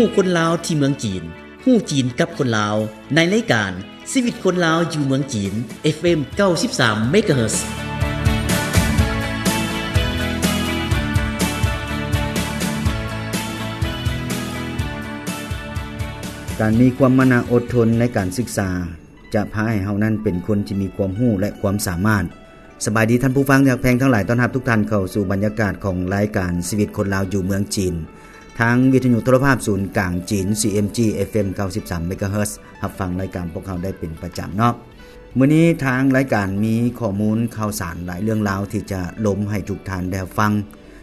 ຮູ້ຄົນລາວທີ່ເມືອງຈີນ, ຮູ້ຈີນກັບຄົນລາວ ໃນລາຍການ ຊີວິດຄົນລາວຢູ່ເມືອງຈີນ ເອັຟເອັມ ເກົ້າສິບສາມ ເມກາເຮີດ. ການມີຄວາມມານະອົດທົນໃນການສຶກສາ ຈະພາໃຫ້ເຮົານັ້ນເປັນຄົນທີ່ມີຄວາມຮູ້ ແລະ ຄວາມສາມາດ. ສະບາຍດີທ່ານຜູ້ຟັງທີ່ຮັກແພງທັງຫຼາຍ, ຕ້ອນຮັບທຸກທ່ານເຂົ້າສູ່ບັນຍາກາດຂອງລາຍການຊີວິດຄົນລາວຢູ່ເມືອງຈີນ ທາງວິທະຍຸໂທລະພາບສູນກາງຈີນ ຊີເອັມຈີ ເອັຟເອັມ ເກົ້າສິບສາມ ເມກາເຮີດ. ຮັບຟັງລາຍການພວກເຮົາໄດ້ເປັນປະຈຳເນາະ. ມື້ນີ້ທາງລາຍການມີຂໍ້ມູນຂ່າວສານຫຼາຍເລື່ອງລາວທີ່ຈະລົມໃຫ້ທຸກທ່ານໄດ້ຮັບຟັງ.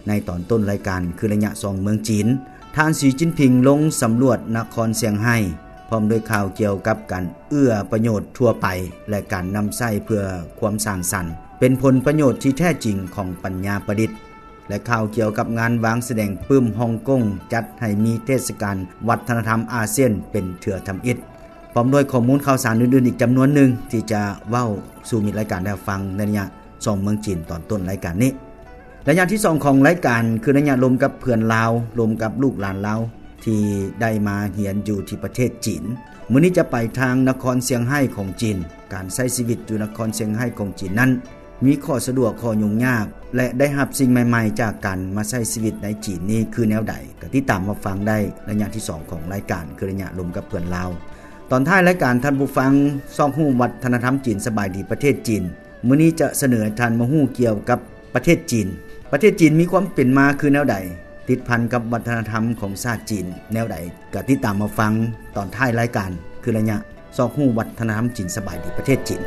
ໃນຕອນຕົ້ນລາຍການ ຄືໄລຍະສ່ອງເມືອງຈີນ, ທ່ານ ສີ ຈິນຜິງ ລົງສຳຫຼວດນະຄອນຊຽງໄຮ້ ພ້ອມດ້ວຍຂ່າວກ່ຽວກັບການເອື້ອປະໂຫຍດທົ່ວໄປ ແລະ ການນຳໃຊ້ເພື່ອຄວາມສ້າງສັນ ເປັນຜົນປະໂຫຍດທີ່ແທ້ຈິງຂອງປັນຍາປະດິດ ແລະ ຂ່າວກ່ຽວກັບງານວາງສະແດງປຶ້ມຮົງກົງ ຈັດໃຫ້ມີເທດສະການວັດທະນະທຳອາຊຽນເປັນເທື່ອທຳອິດ. ພ້ອມດ້ວຍຂໍ້ມູນຂ່າວສານອື່ນໆອີກຈຳນວນໜຶ່ງ ທີ່ຈະເວົ້າສູ່ມິດລາຍການໄດ້ຮັບຟັງໃນໄລຍະສອງເມືອງຈີນຕອນຕົ້ນລາຍການນີ້. ໄລຍະທີສອງຂອງລາຍການ ຄືໄລຍະລົມກັບເພື່ອນລາວ, ລົມກັບລູກຫຼານລາວທີ່ໄດ້ມາຮຽນຢູ່ທີ່ປະເທດຈີນ. ມື້ນີ້ຈະໄປທາງນະຄອນຊຽງໄຮ້ຂອງຈີນ. ການໃຊ້ຊີວິດຢູ່ນະຄອນຊຽງໄຮ້ຂອງຈີນນັ້ນ ມີຂໍ້ສະດວກ, ຂໍ້ຫຍຸ້ງຍາກ ແລະ ໄດ້ຮັບສິ່ງໃໝ່ໆຈາກການມາໃຊ້ຊີວິດໃນຈີນນີ້ຄືແນວໃດ? ກໍຕິດຕາມຮັບຟັງໄດ້ໄລຍະທີສອງຂອງລາຍການ ຄືໄລຍະລົມກັບເພື່ອນລາວ. ຕອນທ້າຍລາຍການ ທ່ານຜູ້ຟັງຊອກຮູ້ວັດທະນະທຳຈີນ ສະບາຍດີປະເທດຈີນ ມື້ນີ້ຈະສະເໜີໃຫ້ທ່ານມາຮູ້ກ່ຽວກັບປະເທດຈີນ. ປະເທດຈີນມີຄວາມເປັນມາຄືແນວໃດ? ຕິດພັນກັບວັດທະນະທຳຂອງຊາດຈີນແນວໃດ? ກໍຕິດຕາມມາຟັງຕອນທ້າຍລາຍການ ຄືໄລຍະຊອກຮູ້ວັດທະນະທຳຈີນ ສະບາຍດີປະເທດຈີນ.